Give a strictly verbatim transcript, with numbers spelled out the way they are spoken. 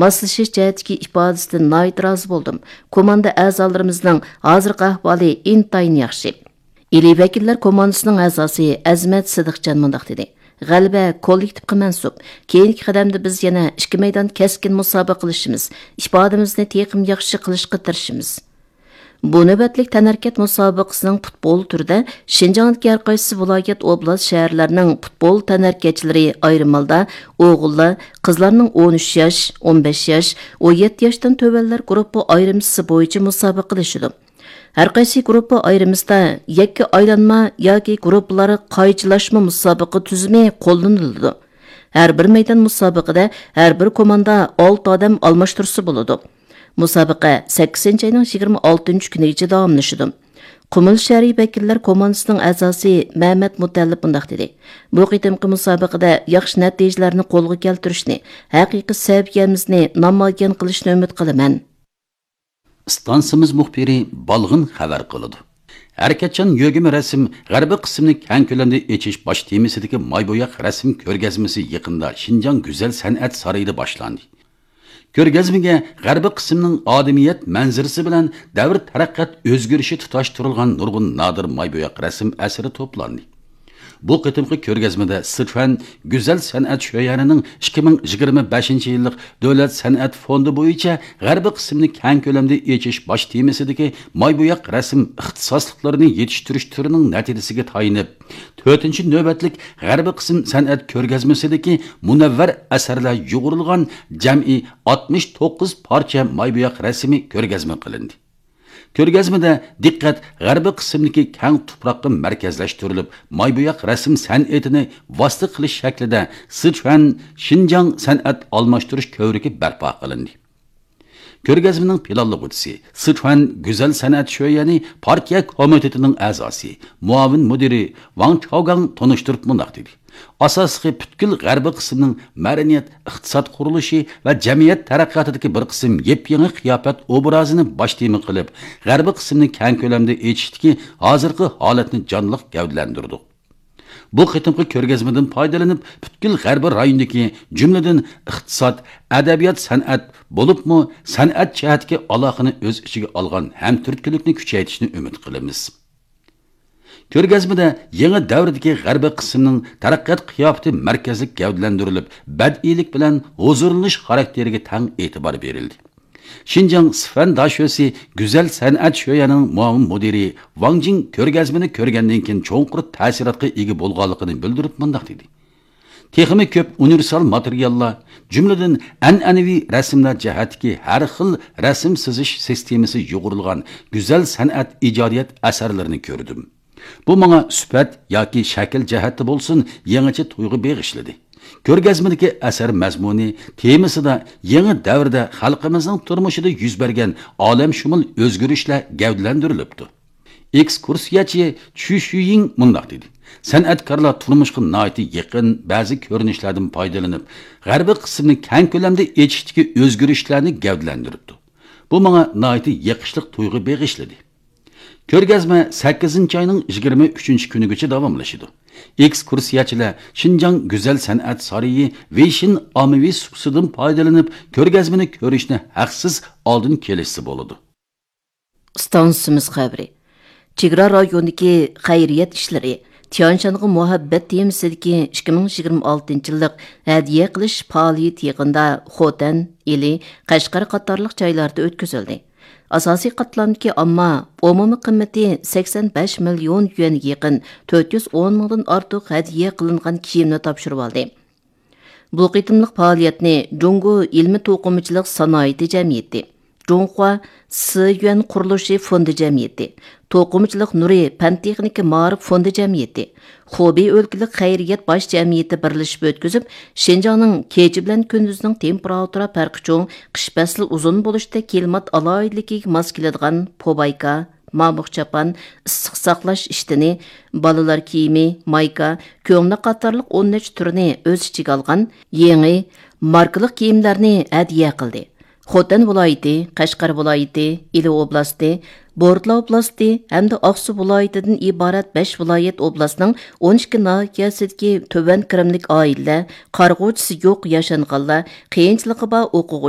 ماسلىشىش جەھەتتىكى ئىپادىسىدىن ناھايىتى رازى بولدۇم. كوماندا ئەزالىرىمىزنىڭ ھازىرقى ئەھۋالى ئىنتايىن ياخشى. ئىلى ۋەكىللەر كوماندىسىنىڭ ئەزاسى ئەزىمەت سىدىقجان مۇنداق دېدى: «غەلىبە كوللېكتىپقا مەنسۇپ. كېيىنكى قەدەمدە بىز يەنە ئىككى مەيدان كەسكىن مۇسابىقە قىلىشىمىز، ئىپادىمىزنى تېخىمۇ ياخشى قىلىشقا تىرىشىمىز.» بۇ نۆۋەتلىك تەنھەرىكەت مۇسابىقىسىنىڭ پۇتبول تۈرىدە شىنجاڭدىكى ھەر قايسى ۋىلايەت، ئوبلاست، شەھەرلەرنىڭ پۇتبول تەنھەرىكەتچىلىرى، ئايرىم ھالدا ئوغۇللار، قىزلارنىڭ ئون ئۈچ ياش، ئون بەش ياش، ئون يەتتە ياشتىن تۆۋەنلەر گۇرۇپپا ئايرىمىسى بويىچە مۇسابىقىلىشىدۇ. ھەر قايسى گۇرۇپپا ئايرىمىسىدا يەككە ئايلانما ياكى گۇرۇپپىلار قايچىلاشما مۇسابىقە تۈزۈمى قوللىنىلىدۇ. ھەر بىر مەيدان مۇسابىقىدە ھەر بىر كوماندا ئالتە ئادەم ئالماشتۇرسا بولىدۇ. مۇسابىقە سەككىزىنچى ئاينىڭ يىگىرمە ئالتىنچى كۈنىگىچە داۋاملىشىدۇ. قۇمۇل شەھىرى ۋەكىللەر كوماندىسىنىڭ ئەزاسى مەمەت مۇتەللىپ مۇنداق دېدى: «بۇ قېتىمقى مۇسابىقىدە ياخشى نەتىجىلەرنى قولغا كەلتۈرۈشنى، ھەقىقىي سەۋىيەمىزنى نامايان قىلىشنى ئۈمىد قىلىمەن.» ئىستانسىمىز مۇخبىرى بالغىن خەۋەر قىلىدۇ. ھەرىكەتچان يۆگىمە رەسىم غەربىي قىسىمنى كەڭ كۆلەمدە ئېچىش باش تېمىسىدىكى ماي بوياق رەسىم كۆرگەزمىسى يېقىندا شىنجاڭ گۈزەل سەنئەت سارىيىدا باشلاندى. كۆرگەزمىگە غەربىي قىسىمنىڭ ئادىمىيەت مەنزىرىسى بىلەن دەۋر تەرەققىيات ئۆزگىرىشى تۇتاشتۇرۇلغان نۇرغۇن نادىر ماي بوياق رەسىم ئەسىرى توپلاندى. بۇ قېتىمقى كۆرگەزمىدە سىچۈەن گۈزەل سەنئەت شۆيەنىنىڭ ئىككى مىڭ يىگىرمە بەشىنچى يىللىق دۆلەت سەنئەت فوندى بويىچە غەربىي قىسىمنى كەڭ كۆلەمدە ئېچىش باش تېمىسىدىكى ماي بوياق رەسىم ئىختىساسلىقلىرىنى يېتىشتۈرۈش تۈرىنىڭ نەتىجىسىگە تايىنىپ، تۆتىنچى نۆۋەتلىك غەربىي قىسىم سەنئەت كۆرگەزمىسىدىكى مۇنەۋۋەر ئەسەرلەر يۇغۇرۇلغان جەمئىي ئاتمىش توققۇز پارچە ماي بوياق رەسىمى كۆرگەزمە قىلىندى. كۆرگەزمىدە دىققەت غەربىي قىسىمدىكى كەڭ تۇپراققا مەركەزلەشتۈرۈلۈپ، ماي بوياق رەسىم سەنئىتىنى ۋاسىتە قىلىش شەكلىدە سىچۈەن شىنجاڭ سەنئەت ئالماشتۇرۇش كۆۋرۈكى بەرپا قىلىندى. كۆرگەزمىنىڭ پىلانلىغۇچىسى، سىچۈەن گۈزەل سەنئەت شۆيەنى پارتىيە كومىتېتىنىڭ ئەزاسى، مۇئاۋىن مۇدىرى ۋاڭ چاۋگاڭ تونۇشتۇرۇپ مۇنداق دېدى: ئاساسلىقى پۈتكۈل غەربىي قىسىمنىڭ مەدەنىيەت، ئىقتىساد قۇرۇلۇشى ۋە جەمئىيەت تەرەققىياتىدىكى بىر قىسىم يېپيېڭى قىياپەت ئوبرازىنى باش تېما قىلىپ، غەربىي قىسىمنى كەڭ كۆلەمدە ئېچىشتىكى ھازىرقى ھالەتنى جانلىق گەۋدىلەندۈردۇق. بۇ قېتىمقى كۆرگەزمىدىن پايدىلىنىپ، پۈتكۈل غەربىي رايوندىكى، جۈملىدىن ئىقتىساد، ئەدەبىيات، سەنئەت، بولۇپمۇ سەنئەت جەھەتتىكى ئالاقىنى ئۆز ئىچىگە ئالغان ھەمتۈرتكىلىكنى كۈچەيتىشنى ئۈمىد قىلىمىز. كۆرگەزمىدە يېڭى دەۋردىكى غەربىي قىسىمنىڭ تەرەققىيات قىياپىتى مەركەزلىك گەۋدىلەندۈرۈلۈپ، بەدىئىيلىك بىلەن ھۇزۇرلىنىش خاراكتېرىگە تەڭ ئېتىبار بېرىلدى. شىنجاڭ سىفەن داشۆسى گۈزەل سەنئەت شۆيەنىڭ مۇئاۋىن مۇدىرى ۋاڭ جىڭ كۆرگەزمىنى كۆرگەندىن كېيىن چوڭقۇر تەسىراتقا ئىگە بولغانلىقىنى بىلدۈرۈپ مۇنداق دېدى: تېخىمۇ كۆپ ئۇنىۋېرسال ماتېرىياللار، جۈملىدىن ئەنئەنىۋى رەسىملەر جەھەتتىكى ھەر خىل رەسىم سىزىش سىستېمىسى يۇغۇرۇلغان گۈزەل سەنئەت ئىجادىيەت ئەسەرلىرىنى كۆردۈم. بۇ ماڭا سۈپەت ياكى شەكىل جەھەتتە بولسۇن، يېڭىچە تۇيغۇ بېغىشلىدى. كۆرگەزمىدىكى ئەسەر مەزمۇنى، تېمىسىدا يېڭى دەۋردە خەلقىمىزنىڭ تۇرمۇشىدا يۈز بەرگەن ئالەمشۇمۇل ئۆزگىرىشلەر گەۋدىلەندۈرۈلۈپتۇ. ئېكسكۇرسىيەچى چۈ شۈيىڭ مۇنداق دېدى: سەنئەتكارلار تۇرمۇشقا ناھايىتى يېقىن بەزى كۆرۈنۈشلەردىن پايدىلىنىپ، غەربىي قىسىمنى كەڭ كۆلەمدە ئېچىشتىكى ئۆزگىرىشلەرنى گەۋدىلەندۈرۈپتۇ. بۇ ماڭا ناھايىتى يېقىشلىق تۇيغۇ بېغىشلىدى. كۆرگەزمە سەككىزىنچى ئاينىڭ يىگىرمە ئۈچىنچى كۈنىگىچە داۋاملىشىدۇ. ئېكسكۇرسىيەچىلەر شىنجاڭ گۈزەل سەنئەت سارىيى ۋېيشىن ئاممىۋى سۇپىسىدىن پايدىلىنىپ، كۆرگەزمىنى كۆرۈشنى ھەقسىز ئالدىن كېلىشسە بولىدۇ. ئىستانسىمىز خەۋىرى. چېگرا رايونىدىكى خەيرىيەت ئىشلىرى، تيەنشانغا مۇھەببەت تېمىسىدىكى ئىككى مىڭ يىگىرمە ئالتىنچى يىللىق ھەدىيە قىلىش پائالىيىتى يېقىندا خوتەن، ئىلى، قەشقەر قاتارلىق جايلاردا ئۆتكۈزۈلدى. ئاساسىي قاتلامدىكى ئامما ئومۇمىي قىممىتى سەكسەن بەش مىليون يۈەنگە يېقىن تۆت يۈز ئون مىڭدىن ئارتۇق ھەدىيە قىلىنغان كىيىمنى تاپشۇرۇۋالدى. بۇ قېتىملىق پائالىيەتنى جۇڭگو ئىلمىي توقۇمىچىلىق سانائىتى جەمئىيىتى، جۇڭخۇا سىيۈەن قۇرۇلۇشى فوندى جەمئىيىتى، توقۇمىچىلىق نۇرى پەن تېخنىكا مائارىپ فوندى جەمئىيىتى، خۇبېي ئۆلكىلىك خەيرىيەت باش جەمئىيىتى بىرلىشىپ ئۆتكۈزۈپ، شىنجاڭنىڭ كېچە بىلەن كۈندۈزنىڭ تېمپېراتۇرا پەرقى چوڭ، قىش پەسلى ئۇزۇن بولۇشتەك كىلىمات ئالاھىدىلىكىگە ماس كېلىدىغان پوبايكا، مامۇق چاپان، ئىسسىق ساقلاش ئىشتىنى، بالىلار كىيىمى، مايكا، كۆڭلەك قاتارلىق ئون نەچچە تۈرنى ئۆز ئىچىگە ئالغان يېڭى ماركىلىق كىيىملەرنى ھەدىيە قىلدى. خوتەن ۋىلايىتى، قەشقەر ۋىلايىتى، ئىلى ئوبلاستى، بورتلا ئوبلاستى ھەمدە ئاقسۇ ۋىلايىتىدىن ئىبارەت بەش ۋىلايەت ئوبلاستنىڭ ئون ئىككى ناھىيەسىدىكى تۆۋەن كىرىملىك ئائىلىلەر، قارىغۇچىسى يوق ياشانغانلار، قىيىنچىلىقى بار ئوقۇغۇچى،